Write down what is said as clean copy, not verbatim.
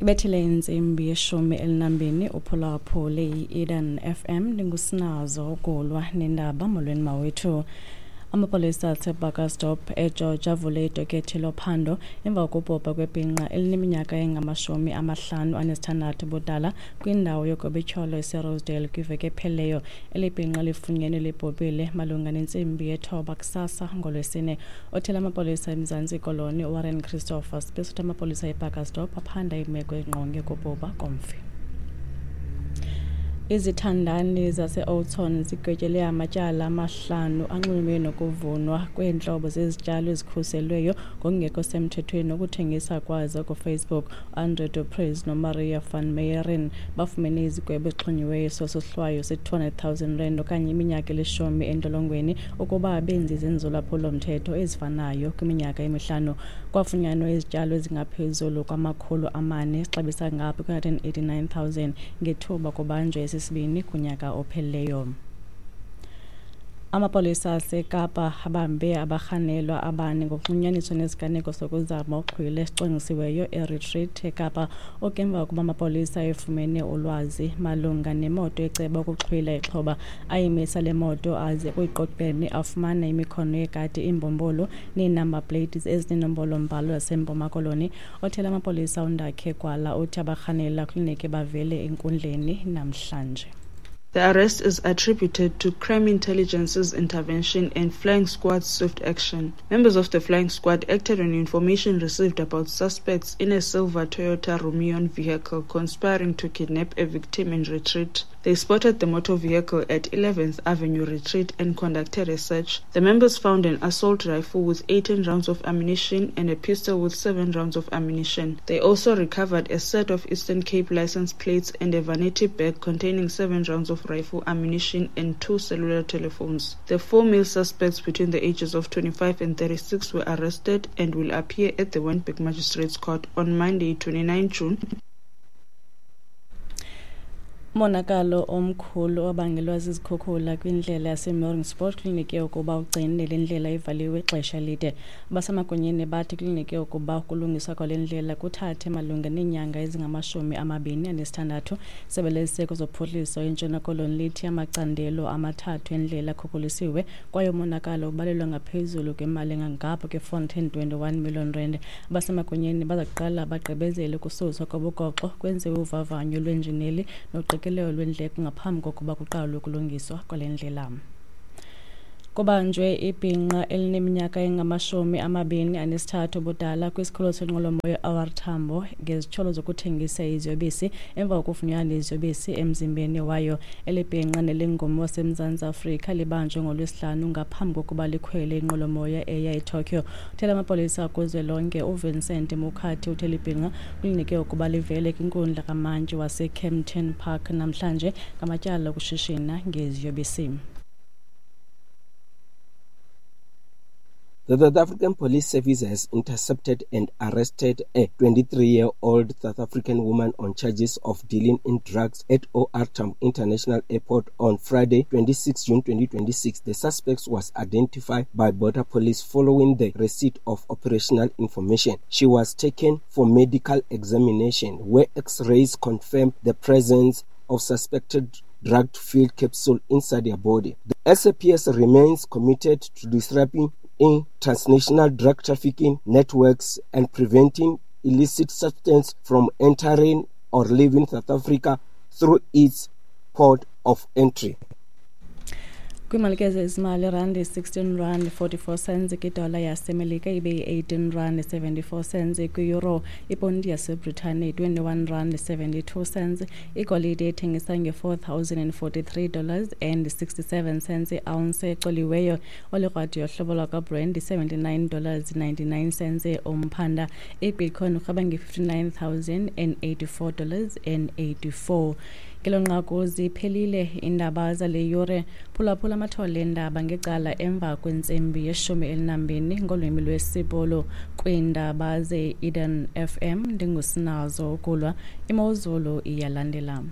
Ibethile intsimbi ye-12 uphulaphule i-Eden FM. Ndingusinazo Gulwa nendaba. Molweni mawethu. Amapolisa aseBurgersdorp eGeorge avule idokethi lophando emva kokubhubha kwebhinqa elineminyaka engama-56 ubudala kwindawo yogobityholo eseRosedale kwiveki ephelileyo. Eli bhinqa lifunyenwe libhubhile malunga nentsimbi 9 kusasa ngoLwesine. Othela amapolisa eMzantsi Koloni uWarren Christophers besithi amapolisa eBurgersdorp aphanda imeko engqonge ukubhubha komfi. Izithandani zase-Oudtshoorn zigwetyelwe amatyala 5 anxulumene nokuvunwa kweentlobo zezityalo ezikhuselweyo ngokungekho semthethweni nokuthengisa kwazo kuFacebook. Andre du Preez noMaria van Meijeren bafumene izigwebo ezixhonyiweyo sosohlwayo se-200 000 rand okanye iminyaka eli-10 entolongweni ukuba benze izenzo zolwaphulo-mthetho ezifanayo kwiminyaka emi-5. Kwafunyanwa izityalo ezingaphezulu kwama-400 exabisa ngapha kwe-189 000 ngethuba kubanjwe esi sibini kunyaka ophelileyo. Amapolisa aseKapa abambe abarhanelwa abane ngokunxulunyaniswa nesiganeko sokuzama uxhwilo esicwangcisiweyo eRetreat eKapa, okemva kokuba amapolisa efumene ulwazi malunga nemoto eceba ukuxhwila ixhoba. Ayimisa le moto aze kuyiqoqeni afumana imikhono yekati, iimbumbulu nee-number plates ezineenombolo-mbhalo zaseMpuma Koloni. Othela amapolisa uNdakhe Gwala uthi abarhanelwa kulineke bavele enkundleni namhlanje. The arrest is attributed to crime intelligence's intervention and flying squad's swift action. Members of the flying squad acted on information received about suspects in a silver Toyota Rumion vehicle conspiring to kidnap a victim in Retreat. They spotted the motor vehicle at 11th Avenue Retreat and conducted a search. The members found an assault rifle with 18 rounds of ammunition and a pistol with 7 rounds of ammunition. They also recovered a set of Eastern Cape license plates and a vanity bag containing 7 rounds of rifle ammunition and 2 cellular telephones. The 4 male suspects between the ages of 25 and 36 were arrested and will appear at the Wynberg Magistrates Court on Monday, 29 June. Umonakalo omkhulu obangelwa zizikhukhula kwindlela yaseMaurinspoort kulindeleke ukuba ugcine le ndlela ivaliwe ixesha elide. Abasemagunyeni bathi kulindeleke ukuba ukulungiswa kwale ndlela kuthathe malunga neenyanga ezingama-26. Isebe leziseko zophuhliso eNtshona Koloni lithi amacandelo 3 endlela akhukhuliswe kwaye umonakalo ubalelwa ngaphezulu kwemali engangapha kwe-421 million rand. Abasemagunyeni baza kuqala bagqibezele ukususwa kobugoxo, kwenziwe uvavanyo lwenjineli noqikelelo lwendleko ngaphambi kokuba kuqalwe ukulungiswa kwale ndlela. Kubanjwe ibhinqa elineminyaka engama-23 ubudala kwisikhululo senqwelomoya OR Tambo ngezityholo zokuthengisa iziyobisi emva kokufunyanwa neziyobisi emzimbeni wayo. Eli bhinqa nelingummi waseMzantsi Afrika libanjwe ngoLwesihlanu ngaphambi kokuba likhwele inqwelomoya eya eTokyo. Uthela amapolisa kuzwelonke uVincent Mukhathi uthe libhinqa kulindeleke ukuba livele kwinkundla kamantyi waseKempton Park namhlanje ngamatyala okushishina ngeziyobisi. The South African Police Service has intercepted and arrested a 23-year-old South African woman on charges of dealing in drugs at OR Tambo International Airport on Friday, 26 June 2026. The suspect was identified by border police following the receipt of operational information. She was taken for medical examination, where X-rays confirmed the presence of suspected drug-filled capsule inside her body. The SAPS remains committed to disrupting in transnational drug trafficking networks and preventing illicit substance from entering or leaving South Africa through its port of entry. Kwimali ke zezimali, randi 16 rand 44 cents kwidola yaseMelika, ibe yi-18 rand 74 cents kwi-euro, iponti yaseBritane 21 rand 72 cents, igolide ethengisa nge-$4,043 and 67 cents i-ounce ecoliweyo, olikrwadi yohlobo lwakwaBrent $79.99 umphanda, ibitcoin urhweba nge-$59,084 and 84. Ngelo nqaku ziphelile iindaba zale yure. Phulaphula amathole eendaba ngecala emva kwentsimbi ye-12 ngolwimi lwesiBhulu kwiindaba ze-Eden FM. Ndingusinazo Ukulwa. Imozulu iyalandela.